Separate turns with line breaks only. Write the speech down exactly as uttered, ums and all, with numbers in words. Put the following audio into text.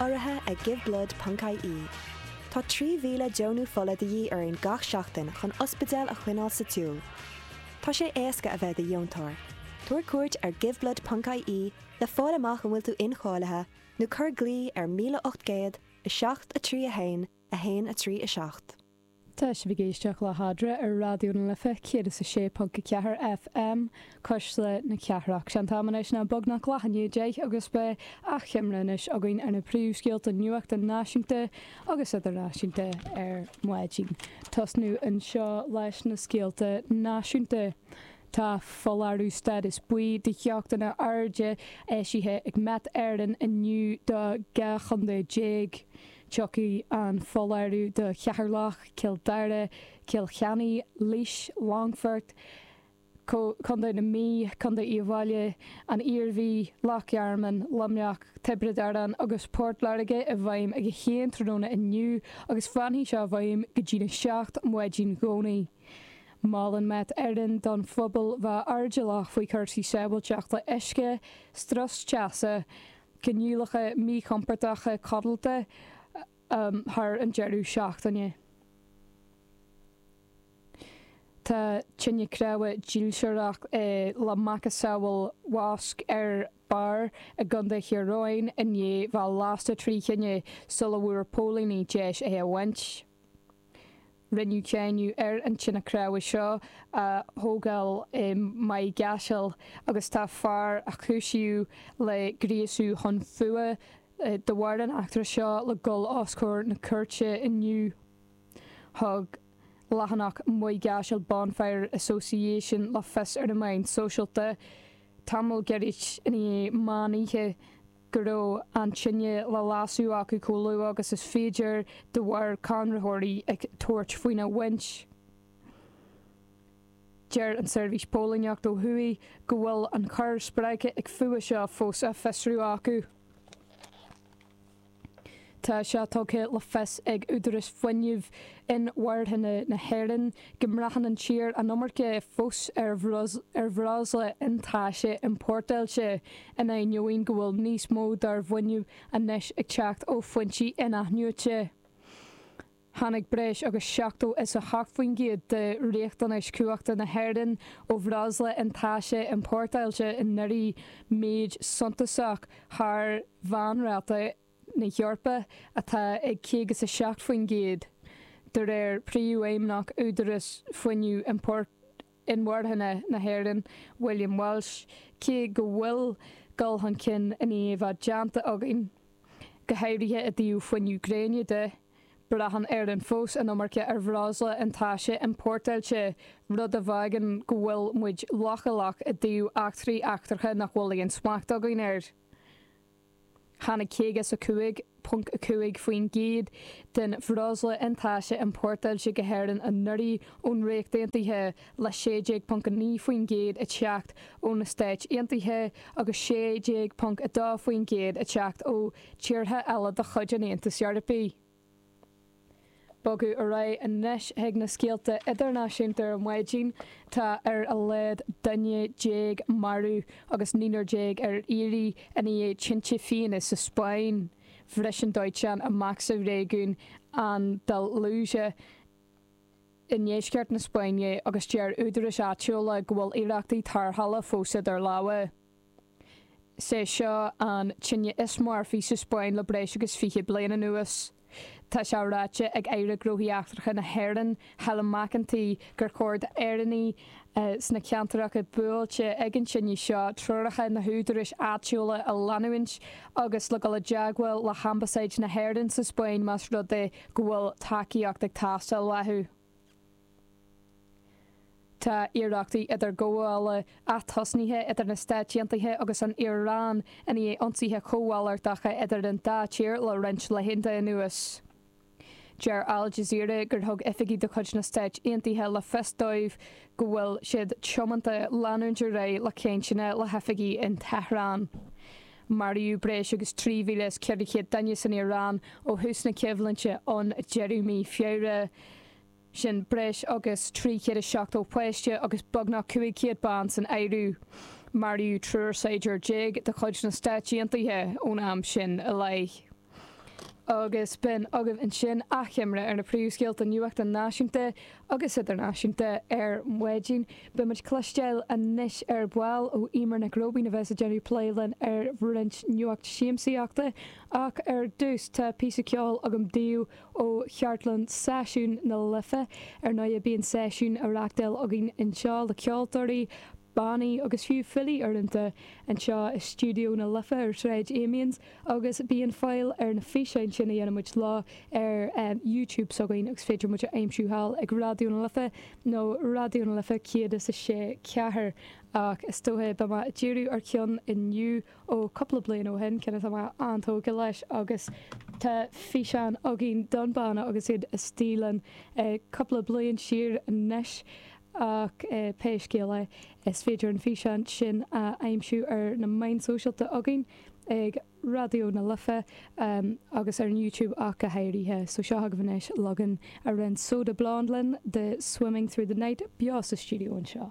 Urraithe ag Giveblood ponc I E. Tá trí mhíle deonú fola de dhíth orainn gach seachtain chun ospidéal a choinneáil sa tsiúl. Tá sé éasca a bheith i do dheontóir. Tabhair cuairt ar giveblood ponc I E le fáil amach an bhfuil tú incháilithe nó cuir glao ar míle ocht gcéad a seacht a trí a haon a haon a trí a seacht.
Tá sibh ag éisteacht le hAdre ar Raidió na Life céad is a sé ponc a ceathair F M, Cuisle na Cathrach. Sé an t-am anois ná beagnach leath i ndiaidh a deich agus beidh achoimre anois againn ar na príomhscéalta nuachta náisiúnta agus idirnáisiúnta ar maidin. Tosnú anseo leis na scéalta náisiúnta. Tá foláireamh stádas buí de theochtaí arda eisithe ag Met Éireann inniu do dhá chontae déag. Tiocfaidh an foláireamh do Cheatharlach, Cill Dara, Cill Chainnigh, Laois, Longfort, Contae na Mí, Contae Uíbh Fhailí, an Iarmhí, Loch Garman, Luimneach, Tiobraid Árann agus Port Láirge i bhfeidhm ag a haon tráthnóna inniu agus fanfaidh sé i bhfeidhm go dtí a seacht maidin Dhomhnaigh. Molann Met Éireann don phobal bheith airdeallach faoi chúrsaí sábháilteachta uisce, strus teasa, coinníollacha míchompordacha codlata um, thar an deireadh seachtaine. Tá tine chreamha dílseach eh, le macasamhail mosc ar barr i gContae Thír Eoghain i ndiaidh bheith lasta trí thine sula bhfuair póilíní deis é a bhaint. Rinneadh cáineadh ar an tine chreamha seo a thógáil i Maigh gCaiseal agus tá fear a cúisíodh le gríosú chun fuatha de bharr an eachtra seo le dul os comhair na cúirte inniu. Thug leathanach Maigh gCaiseal Bonfire Association le fios ar na meáin sóisialta tamall gairid i ndiaidh meán oíche go raibh an tine le lasadh acu chomh luath agus is féidir de bharr conraitheoirí ag tabhairt faoina bhaint. Deir an seirbhís póilíneachta ó thuaidh go bhfuil an choir spreagtha ag fuath seo fós á fiosrú acu. Tá sé tugtha le fios ag Údarás Fuinnimh Inmharthana na hÉireann go mbraitheann an tír an iomarca fós ar bhreosla iontaise iompórtáilte in ainneoin go bhfuil níos mó dár bhfuinneamh anois ag teacht ó fhoinsí in-athnuaite. Tháinig breis agus seachtó is a hocht faoin gcéad de riachtanais cumhachta na hÉireann ó bhreosla iontaise iompórtáilte anuraidh, méid suntasach thar mheánráta na hEorpa atá ag caoga is a seacht faoin gcéad. De réir príomhfheidhmeannach Údarás Fuinnimh Inmharthana na hÉireann, William Walsh, cé go bhfuil dul chun cinn i ndiaidh bheith déanta againn, go háirithe i dtaobh fuinneamh gréine de, braitheann Éirinn fós an iomarca ar bhreosla iontaise iompórtáilte, rud a fhágann go bhfuil muid leochaileach i dtaobh eachtraí eachtracha nach bhfuil aon smacht againn air. Tháinig caoga is a cúig ponc a cúig faoin gcéad den bhreosla iontaise iompórtáilte go hÉirinn anuraidh ón Ríocht Aontaithe, le sé déag ponc a naoi faoin gcéad ag teacht ó na Stáit Aontaithe agus sé déag ponc a dó faoin gcéad ag teacht ó tíortha eile de chuid an Aontais Eorpaigh. Bogadh ar aghaidh anois chuig na scéalta idirnáisiúnta ar maidin. Tá ar a laghad duine déag marbh agus naonúr déag ar iarraidh i ndiaidh tinte fiáine sa Spáinn. Bhris an dóiteán amach sa réigiún Andalúsia i ndeisceart na Spáinne agus deir údaráis áitiúla go bhfuil iarrachtaí tarrthála fós idir lámha. Is é seo an tine is marfaí sa Spáinn le breis agus fiche bliain anuas. Tá sé ráite ag Aire Gnóthaí Eachtracha na hÉireann, Helen McEntee, gur chóir d'Éireannaigh sna ceantracha buailte ag an tine seo treoracha na húdaráis áitiúla a leanúint agus le dul i dteagmháil le hAmbasáid na hÉireann sa Spáinn más rud é go bhfuil tacaíocht ag teastáil uathu. Tá iarrachtaí idirghabhála atosnaithe idir na Stáit Aontaithe agus an Iaráin i ndiaidh ionsaithe cómhalartacha idir an dá tír le roinnt laethanta anuas. Deir Al Jazeera gur thug oifigigh de chuid na Stáit Aontaithe le fios dóibh go bhfuil siad tiomanta leanúint ar aghaidh le cainteanna le hoifigigh in Tehran. Maraíodh breis agus trí mhíle is ceithre chéad duine san Iaráin ó thús na coimhlinte an deireadh mí Feabhra. Sin breis agus trí chéad is seachtó páiste agus beagnach cúig chéad bean san áireamh. Maraíodh triúr saighdiúir déag de chuid na Stáit Aontaithe ón am sin i leith. Agus b'in agaibh ansin achoimre ar na príomhscéalta nuachta náisiúnta agus idirnáisiúnta ar maidin. Beidh muid cloisteáil anois ar ball ó Emer Nic Róibín a bheas ag déanamh plé linn ar roinnt nuacht siamsaíochta ach ar dtús tá píosa ceoil agam daoibh ó chartlann Seisiún na Life ar ndóigh bíonn seisiún á reáchtáil againn anseo le ceoltóirí, bannaí agus fiú filí uaireanta anseo i stiúideo na Life ar Shráid Amiens agus bíonn fáil ar na físeáin sin a dhéanaimid lá ar um, YouTube s'againn agus féidir muid a aimsiú thall ag Raidió na Life nó Raidió na Life céad is a sé ceathair ach is dócha beidh mé ag díriú ar cheann inniu ó cúpla bliain ó shin ceann atá mé an-tógtha leis agus tá físeán againn don bhanna agus iad istigh linn eh, cúpla bliain siar anois ach eh, pé scéal é is féidir an físeán sin a aimsiú ar na meáin sóisialta againn ag Raidió na Life um, agus ar an YouTube ach go háirithe, so seo agaibh anois leagan a rinne Soda Blonde linn de Swimming Through the Night beo sa stiúideo anseo.